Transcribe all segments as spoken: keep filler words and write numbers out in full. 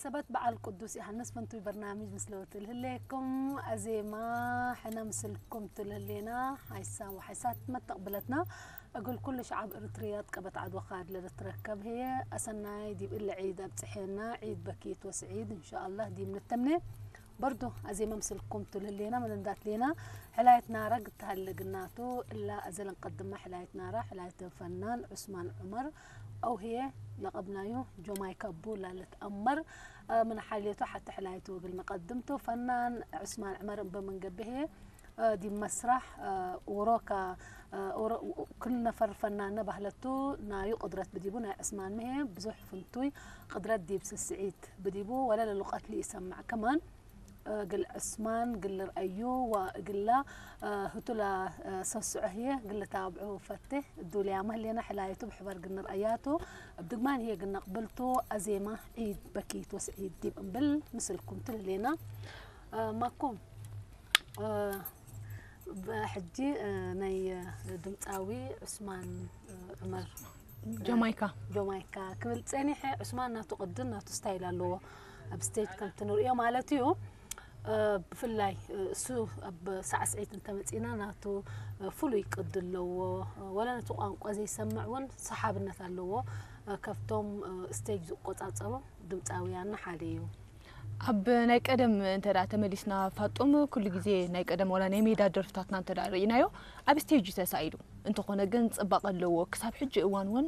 ሰበት በዓል ቅዱስ ዮሐንስ ፍንቱይ በርናምጅ ምስለ ወትልህሌኩም፣ አዜማ ሕነ ምስልኩም ትልህሌና፣ ሐይሳ ወሐይሳት መተቅብለትና፣ እግል ኩሉ ሸዓብ እርትርያ እት ቀበት ዐድ ወካድ ለልትረከብ ህዬ፣ አሰናይ ዲብ እለ ዒድ አብጽሔና፣ ዒድ በኪት ወስዒድ እንሻአላህ ዲብ ንተምኔ። በርዱ አዜመ ምስልኩም ቱ ለህሌና ምን እንዳት ሌና፣ ሕላየት ናራ ግድ ተሀለ ግናቱ፣ እላ አዘ ለንቀድመ ሕላየት ናራ፣ ሕላየት ፈናን ዑስማን ዑመር አው ህዬ ለቀብናዩ ጆማይካ እቡ ላልትአመር፣ እ፣ ምን ሐልየቱ ሐቴ ሕላየቱ እግል ንቀድምቱ። ፈናን ዑስማን ዑመር እበ ምን ገብእ ህዬ፣ እ፣ ዲብ መስራሕ፣ እ፣ ዎሮከ፣ እ፣ ዎሮ-፣ ክል ነፈር ፈናነ በህለቱ፣ ናዩ ቅድረት ብዲቡ፣ ናይ ዑስማን ምህዬ ብዙሕ ፍንቱይ ቅድረት ዲብ ስስዒት ብዲቡ፣ ወለ ለሉቀት ለኢሰምዕ ከማን፣ እግል ዕስማን እግል ልርአዩ ወእግለ ህቱ ለሰስዖ ህዬ እግል ልታብዑ ፈቴ። እዱልያመ ህሌነ ሕላየቱ ብሕበር እግል ንርአያቱ፣ እብ ድግማን ህዬ እግል ነቅብልቱ። አዜመ ዒድ በኪት ወስዒድ ዲብ እምብል ምስልኩም ቱ ለህሌና። ማኩም፣ ሕጂ ናይ ድምጻዊ ዑስማን ዑመር ጆማይካ። ጆማይካ ክብል ጸኒሐ። ዑስማን ናቱ ቅድን ናቱ ስታይል ኣለዎ፣ ኣብ ስቴጅ ከም ትንርእዮ ማለት እዩ። እ፣ ብፍላይ፣ እ፣ እሱ ኣብ ሳዕስዒት እንተ መጺእና ናቱ፣ እ፣ ፍሉይ ቅዲ ኣለዎ። እ፣ ወላ ነቲ ቋንቋ ዘይሰምዕ እውን ሰሓብነት ኣለዎ። እ፣ ከብቶም፣ እ፣ ስቴጅ ዝቆጻጸሩ ድምጻውያንና ሓደ እዩ። ኣብ ናይ ቀደም እንተ ደኣ ተመሊስና ፋጡም፣ ኩሉ ግዜ ናይ ቀደም ወላ ናይ ሜዳ ደርፍታትና እንተ ደኣ ርኢናዮ፣ ኣብ ስቴጅ እዩ ተሳኢሉ። እንተኾነ ግን ጽባቐ ኣለዎ። ክሳብ ሕጂ እዋን እውን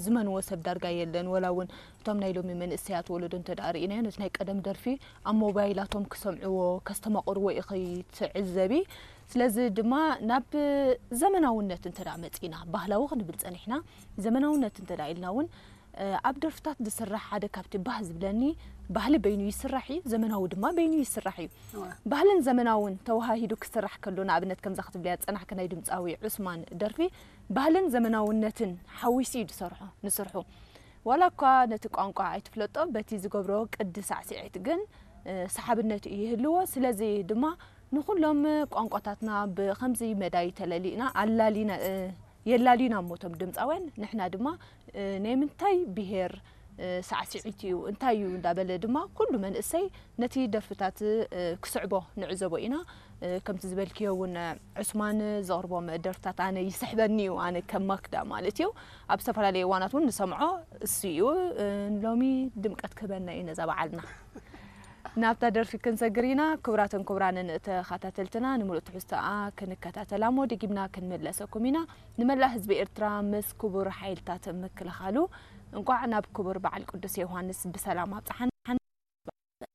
ዝመንዎ ሰብ ዳርጋ የለን። ወላ እውን እቶም ናይ ሎሚ መንእሰያት ወለዶ እንተ ደኣ ርኢናዮ፣ ነቲ ናይ ቀደም ደርፊ ኣብ ሞባይላቶም ክሰምዕዎ፣ ከስተማቕርዎ ኢኺ ትዕዘቢ። ስለዚ ድማ ናብ ዘመናውነት እንተ ደኣ መጺእና፣ ባህላዊ ክንብል ጸኒሕና፣ ዘመናውነት እንተ ደኣ ኢልና እውን፣ እ፣ ኣብ ደርፍታት ዝስራሕ ሓደ ካብቲ ባህ ዝብለኒ፣ ባህሊ በይኑ ይስራሕ እዩ፣ ዘመናዊ ድማ በይኑ ይስራሕ እዩ። እወ። ባህልን ዘመናውን ተወሃሂዱ ክስራሕ ከሎ፣ ንኣብነት ከምዛ ክትብልያ ዝጸናሕኪ ናይ ድምጻዊ ዑስማን ደርፊ፣ ባህልን ዘመናውነትን ሓዊሱ እዩ ዝሰርሖ፣ ንስርሑ። ዋላ እኳ ነቲ ቋንቋ ኣይትፍለጦ፣ በቲ ዝገብሮ ቅዲ ሳዕስዒት ግን፣ እ፣ ሰሓብነት እዩ ይህልዎ። ስለዚ ድማ ንኹሎም ቋንቋታትና ብኸምዚ መዳይ ተለሊእና፣ ኣላሊና፣ እ፣ የላልዩና እሞ እቶም ድምጻውያን፣ ንሕና ድማ፣ እ፣ ናይ ምንታይ ብሄር፣ እ፣ ሳዕስዒት እዩ፣ እንታይ እዩ እንዳበለ ድማ ኩሉ መንእሰይ ነቲ ደርፍታት፣ እ፣ ክስዕቦ ንዕዘቦ ኢና። እ፣ ከምቲ ዝበልክዮ እውን ዑስማን ዘቕርቦም ደርፍታት ኣነ ይስሕበኒ እዩ፣ ኣነ ከም ማክዳ ማለት እዩ። ኣብ ዝተፈላለየ እዋናት እውን ንሰምዖ እሱ እዩ። እ፣ ሎሚ ድምቀት ክህበና እዩ ነዛ በዓልና። ናብታ ደርፊ ክንሰግር ኢና። ክቡራትን ክቡራንን ተኸታተልትና፣ ንምሉእ ትሕዝቶኣ ክንከታተላ እሞ ደጊምና ክንምለሰኩም ኢና። ንመላእ ህዝቢ ኤርትራ ምስ ክቡር ሓይልታት ምክልኻሉ እንቋዕ ናብ ክቡር በዓል ቅዱስ ዮሃንስ ብሰላም ኣብጽሓና።